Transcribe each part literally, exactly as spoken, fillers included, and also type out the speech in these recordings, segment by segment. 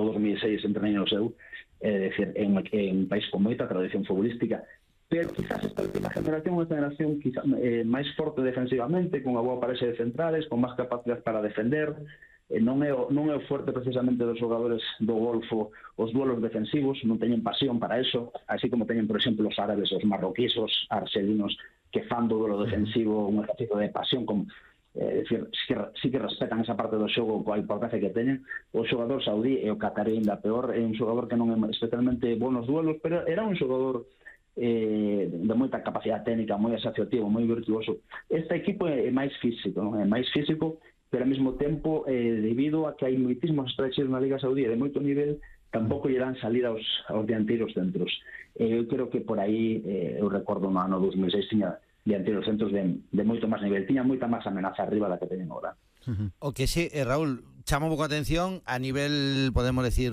do dos mil seis entrenei no seu, é dicir, é un, é un país con moita tradición futbolística, pero quizás esta última generación é unha generación quizás, eh, máis forte defensivamente, con unha boa parexa de centrales, con máis capacidade para defender. Eh, non, é o, non é o fuerte precisamente dos xogadores do Golfo os duelos defensivos, non teñen pasión para eso, así como teñen, por exemplo, os árabes, os marroquíes, os argelinos, que fan do duelo defensivo un ejercicio de pasión, como É dicir, sí que, sí que respetan esa parte do xogo coa importancia que teñen. O xogador saudí e o catarí ainda peor, é un xogador que non é especialmente bon nos duelos, pero era un xogador eh, de moita capacidade técnica, moi asociativo, moi virtuoso. Este equipo é máis físico, non? É máis físico, pero ao mesmo tempo, eh, debido a que hai moitísimos estrangeiros na Liga Saudí de moito nivel, tampouco lle dan salida aos, aos dianteiros centros. Eh, eu creo que por aí, eh, eu recordo no ano dos mil seis, tiña dianteiros centros de, de moito máis nivel, tiña moita máis amenaza arriba da que teñen agora. Uh-huh. O que sí, eh, Raúl, chama un pouco a atención a nivel, podemos decir,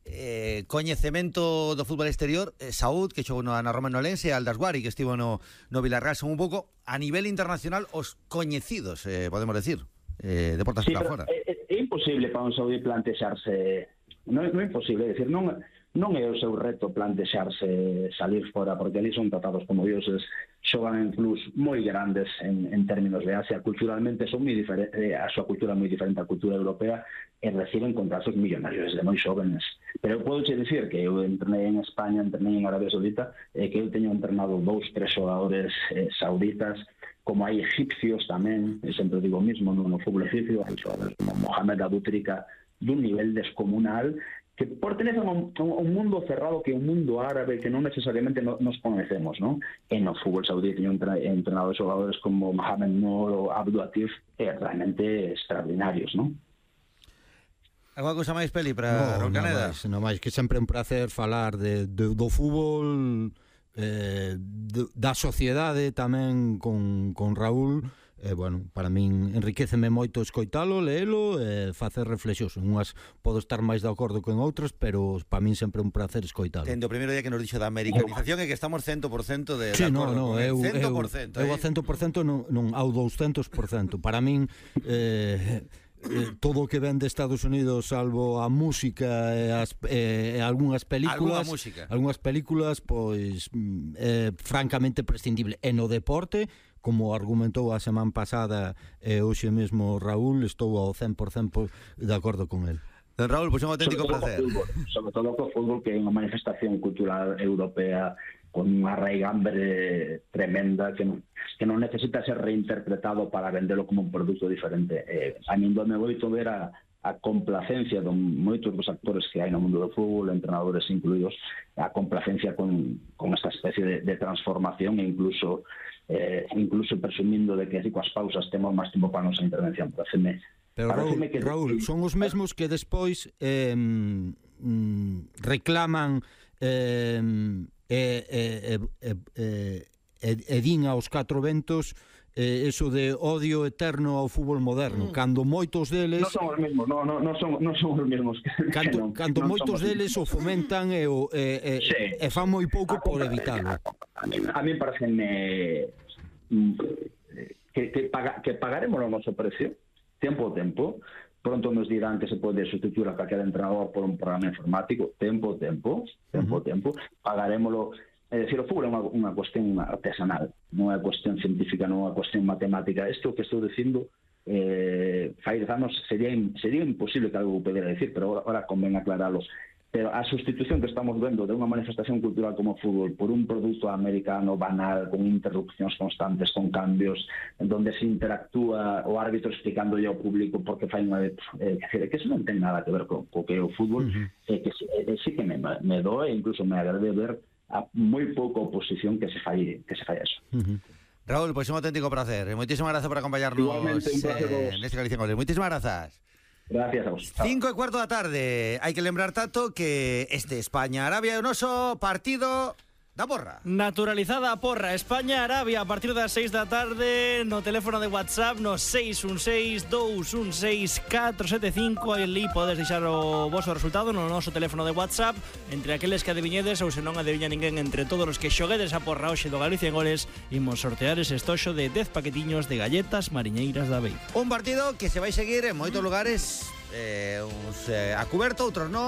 eh, coñecemento do fútbol exterior, eh, Saúd, que xogou na Roma Nolense, Aldasguari, que estivo no, no Villarreal, son un pouco a nivel internacional os coñecidos, eh, podemos decir, eh, de portas sí, para fora. É, é imposible para un saudí plantexarse, non, non é imposible, é dicir, non non é o seu reto plantexarse salir fora, porque ali son tratados como dioses, xogan en clubs moi grandes en, en términos de Asia, culturalmente son moi diferente, a súa cultura é moi diferente á cultura europea, e reciben contratos millonarios desde moi xóvenes. Pero eu podo che dicir que eu entrenei en España, entrenei en Arabia Saudita, e que eu teño entrenado dous, tres xogadores eh, sauditas, como hai egipcios tamén, eu sempre digo o mismo, no, no fútbol egipcio, hai xogadores como Mohamed Abutrika, dun nivel descomunal, que pertenecen a un, a un mundo cerrado, que é un mundo árabe que non necesariamente no, nos conocemos, ¿no? En o fútbol saudí teño entrenado xogadores como Mohamed Noor ou Abdul Atif, eh, realmente extraordinarios, ¿no? Alguna cousa máis, Peli, para no, Roncaneda? Non máis, non máis, que sempre é un placer falar de, de, do fútbol, eh, de, da sociedade tamén con, con Raúl. Eh, bueno, para min enriqueceme moito escoitalo, leelo e eh, facer reflexións. Unhas podo estar máis de acordo con outras, pero para min sempre é un placer escoitalo. Tendo o primeiro día que nos dixo da americanización é que estamos cento por cento de, sí, de no, acordo no, con eu, cento por cento. Eu, eh? eu a cento por cento non, non ao douscentos por cento. Para min eh, eh, todo o que ven de Estados Unidos, salvo a música e as eh, algunhas películas, algunhas películas, pois é eh, francamente prescindible. E no deporte, como argumentou a semana pasada e eh, hoxe mesmo Raúl, estou ao cen por cento de acordo con el. Don Raúl, pois é un auténtico sobre placer. Fútbol, sobre todo co fútbol, que é unha manifestación cultural europea con unha raigambre tremenda que non, que non necesita ser reinterpretado para vendelo como un produto diferente. Eh, a min me moito ver a, a complacencia de moitos dos actores que hai no mundo do fútbol, entrenadores incluídos, a complacencia con, con esta especie de, de transformación, e incluso eh, incluso presumindo de que así coas pausas temos máis tempo para a nosa intervención. Pareceme, Pero Raúl, que... Raúl, son os mesmos que despois eh, mm, reclaman eh, e eh, eh, eh, eh, eh, din aos catro ventos eh, eso de odio eterno ao fútbol moderno, mm. cando moitos deles non son os mesmos, non no, no son, no son os mesmos que, cando, que non, cando non moitos deles o fomentan e, o, e, e, sí. e fan moi pouco a por evitalo. A mí, a mí pareceme que, que, paga, que pagaremos o noso precio tempo a tempo. Pronto nos dirán que se pode sustituir a calquera entrenador por un programa informático, tempo a tempo, tempo a tempo, pagarémoslo. É dicir, o fútbol é unha, unha cuestión artesanal, non é cuestión científica, non é unha cuestión matemática. Isto que estou dicindo, eh, fai dez anos sería, sería imposible que algo pudera decir, pero agora, agora convén aclararlo. Pero a sustitución que estamos vendo de unha manifestación cultural como o fútbol por un produto americano banal, con interrupcións constantes, con cambios, en donde se interactúa o árbitro explicándolle ao público porque fai unha... Eh, que eso non ten nada que ver co, co que é o fútbol, uh-huh. eh, que eh, sí que me, me doe, incluso me agrade ver a moi pouca oposición que se fai, que se fai eso. Uh-huh. Raúl, pois pues un auténtico placer. Moitísimas grazas por acompañarnos eh, neste Galicia en Goles. Moitísimas grazas. Gracias a vos. Cinco e cuarto da tarde. Hai que lembrar, Tato, que este España-Arabia é o noso partido da porra. Naturalizada a porra. España-Arabia a partir das seis da tarde no teléfono de WhatsApp no seis un seis, dous un seis, catro sete cinco. Ali podes deixar o vosso resultado no noso teléfono de WhatsApp entre aqueles que adiviñedes ou se non adiviña ninguén entre todos os que xoguedes a porra hoxe do Galicia en Goles. Imos sortear ese estoxo de dez paquetiños de galletas mariñeiras da Bei. Un partido que se vai seguir en moitos lugares, eh, uns eh, a cuberto, outros non.